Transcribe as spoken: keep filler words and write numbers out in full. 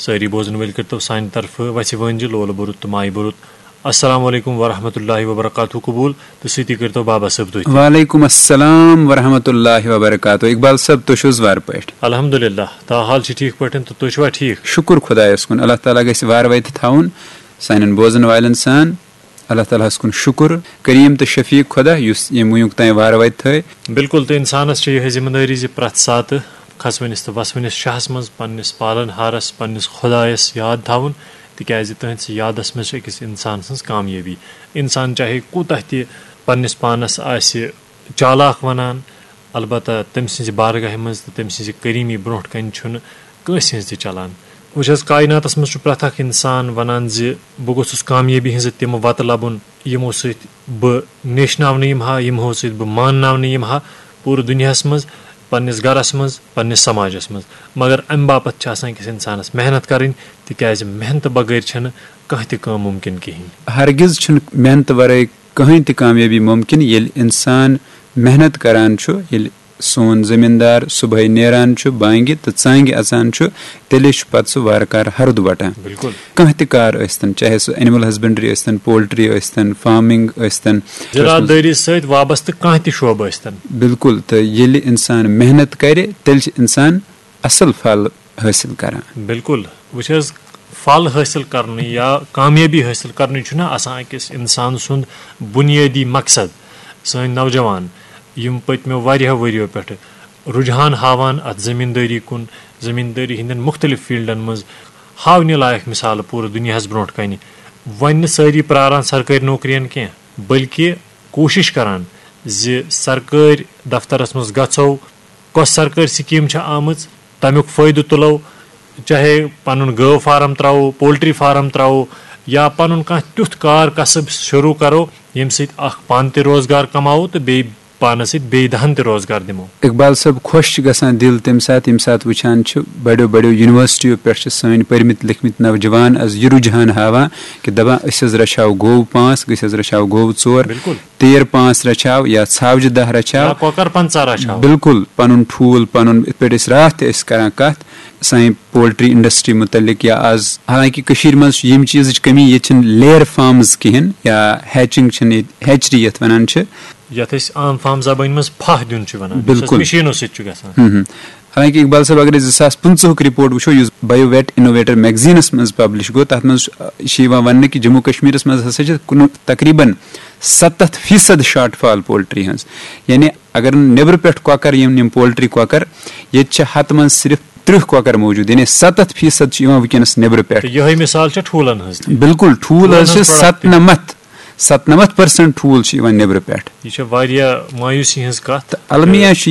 سٲری بوزن وٲلۍ کٔرتو سانہِ طرفہٕ وَژھِ وٲنجہِ لولہٕ بوٚرُت تہٕ مایہِ بوٚرُت۔ السلام علیکم ورحمۃ اللہ وبرکاتہ قبول تہٕ سۭتی کٔرتو بابا صٲب تُہۍ تہِ۔ وعلیکم السلام ورحمۃ اللہ وبرکاتہ۔ اقبال صٲب، تُہۍ چھِو حظ وارٕ پٲٹھۍ؟ الحمدللہ، تا حال چھِ ٹھیٖک پٲٹھۍ تہٕ تُہۍ چھِوا ٹھیٖک؟ شُکُر خۄدایَس کُن، اللہ تعالیٰ گژھِ وارٕ وَتہِ تھاوُن سانٮ۪ن بوزن والٮ۪ن سان۔ اللہ تعالیٰ ہَس کُن شُکُر، کریم تہٕ شفیق خۄدا یُس ییٚمہِ وٕنیُک تام وارٕ وَتہِ تھٲے۔ بِلکُل، تہٕ اِنسانَس چھِ یِہے ذِمہٕ دٲری زِ پرٛٮ۪تھ ساتہٕ کھسوٕنِس تہٕ وَسوٕنِس شاہَس منٛز، پنٛنِس پالن ہارَس، پنٛنِس خۄدایَس یاد تھاوُن، تِکیٛازِ تٕہٕنٛدِس یادَس منٛز چھِ أکِس اِنسان سٕنٛز کامیٲبی۔ اِنسان چاہے کوٗتاہ تہِ پنٛنِس پانَس آسہِ چالاک وَنان، البتہ تٔمۍ سٕنٛزِ بارگاہہِ منٛز تہٕ تٔمۍ سٕنٛزِ کریٖمی برونٛٹھ کَنہِ چھُنہٕ کٲنٛسہِ ہٕنٛز تہِ چلان۔ وٕچھ حظ، کایناتَس منٛز چھُ پرٛٮ۪تھ اَکھ اِنسان وَنان زِ بہٕ گوٚژھُس کامیٲبی ہٕنٛزٕ تِمہٕ وَتہٕ لَبُن، یِمو سۭتۍ بہٕ نیشناونہٕ یِمہٕ ہا، یِمو سۭتۍ بہٕ مانناونہٕ یِمہٕ ہا پوٗرٕ دُنیاہَس منٛز، پنٛنِس گَرَس منٛز، پنٛنِس سماجَس منٛز۔ مگر اَمہِ باپَتھ چھِ آسان أکِس اِنسانَس محنت کَرٕنۍ، تِکیٛازِ محنتہٕ بغٲر چھَنہٕ کانٛہہ تہِ کٲم مُمکِن کِہیٖنۍ۔ ہرگز چھُنہٕ محنتہٕ ورٲے کٕہٕنۍ تہِ کامیٲبی مُمکِن۔ ییٚلہِ اِنسان محنت کران چھُ، ییٚلہِ سون زٔمیٖندار صُبحٲے نیران چھُ بانگہِ تہٕ ژانگہِ اژان چھُ، تیٚلے چھُ پتہٕ سُہ وارٕ کارٕ ہرُد وٹان۔ بِلکُل۔ کانٛہہ تہِ کار ٲسۍتن، چاہے سُہ اینیمل ہسبنڈری ٲسۍتن، پولٹری ٲسۍتن، فارمنگ ٲسۍتن۔ زِراعت دٲری سۭتۍ وابستہٕ کانٛہہ تہِ شعبہٕ ٲسۍتن۔ بِلکُل، تہٕ ییٚلہِ اِنسان محنت کرِ، تیٚلہِ چھُ اِنسان اصل پھل حٲصِل کران۔ بِلکُل۔ وٕچھ حظ، پھل حٲصِل کرنٕے یا کامیٲبی حٲصِل کرنٕے چھُنہٕ آسان أکِس اِنسان سُنٛد بُنیٲدی مقصد۔ سٲنۍ نوجوان، یِم پٔتمیو واریاہو ؤریو پٮ۪ٹھٕ رُجحان ہاوان اَتھ زٔمیٖندٲری کُن، زٔمیٖندٲری ہٕنٛدٮ۪ن مُختٔلِف فیٖلڈَن منٛز، ہاونہِ لایق مِثالہٕ پوٗرٕ دُنیاہَس برونٛٹھ کَنہِ۔ وۄنۍ نہٕ سٲری پرٛاران سرکٲرۍ نوکرِیَن کینٛہہ، بلکہِ کوٗشِش کران زِ سرکٲرۍ دفترَس منٛز گژھو، کۄس سرکٲرۍ سکیٖم چھےٚ آمٕژ، تَمیُک فٲیدٕ تُلو، چاہے پَنُن گٲو فارم ترٛاوو، پولٹری فارم ترٛاوو، یا پَنُن کانٛہہ تیُتھ کار کسب شروٗع کرو، ییٚمہِ سۭتۍ اکھ پانہٕ تہِ روزگار کماوو تہٕ بیٚیہِ پانَس سۭتۍ بیٚیہِ دَہَن تہِ روزگار دِمو۔ اقبال صٲب، خۄش چھُ گژھان دِل تَمہِ ساتہٕ، ییٚمہِ ساتہٕ وٕچھان چھِ بڑیو بڑیو یونیورسٹیو پٮ۪ٹھ چھِ سٲنۍ پٔرمٕتۍ لیکھمٕتۍ نوجوان از یہِ رُجحان ہاوان کہِ دَپان، أسۍ حظ رَچھاو گوٚو پانٛژھ، أسۍ حظ رَچھاو گوٚو ژور، بِلکُل۔ تیر پانٛژھ رَچھاو یا ژھاوجہِ دَہ رَچھاو۔ یا کۄکر پنٛژاہ رَچھاو۔ بِلکُل، پَنُن ٹھوٗل پَنُن، یِتھ پٲٹھۍ أسۍ راتھ تہِ ٲسۍ کران کَتھ سانہِ پولٹری انڈسٹری مُتعلِق یا آز، حالانکہِ کٔشیٖرِ منٛز چھِ ییٚمہِ چیٖزٕچ کٔمی، ییٚتہِ چھِنہٕ لیر فارمز کِہیٖنۍ یا ہیچنگ چھِنہٕ ییٚتہِ، ہیچری یَتھ وَنان چھِ۔ یَتھ أسۍ عام فارم زبٲنۍ منٛز پھاہ دیُن چھِ وَنان، یُس حظ بالکل۔ مِشیٖنو سۭتۍ چھُ گژھان۔ ہم ہم۔ حالانکہِ اقبال صٲب، اگر أسۍ زٕ ساس پٕنٛژٕہُک رِپورٹ وٕچھو، یُس بایو ویٹ انوویٹر میگزینس منٛز پبلش گوٚو، تَتھ منٛز چھُ یِوان وَننہٕ کہِ جموں کشمیٖرس منٛز ہسا چھِ کُنہٕ تقریباً ستتھ فیصد شارٹ فال پولٹری ہٕنٛز۔ یعنی اگر نہٕ نیٚبرٕ پٮ۪ٹھ کۄکر یِن، یِم پولٹری کۄکر، ییٚتہِ چھِ ہتہٕ منٛز صرف ترٕٛہ کۄکر موٗجوٗد، یعنی ستتھ فیصد چھِ یِوان وٕنکیٚنس نیٚبرٕ پٮ۪ٹھ۔ تہٕ یِہوٚے مثال چھےٚ ٹھوٗلن ہٕنٛز تہِ۔ بِلکُل، ٹھوٗل ٹھوٗلن حظ چھِ ہٕنٛز product تہِ۔ ستنمتھ، ستنمتھ پٔرسنٹ ٹھوٗل چھِ یِوان نیٚبرٕ پٮ۪ٹھ۔ یہِ چھےٚ واریاہ مایوسی ہٕنٛز کتھ۔ تہٕ المیہ چھُ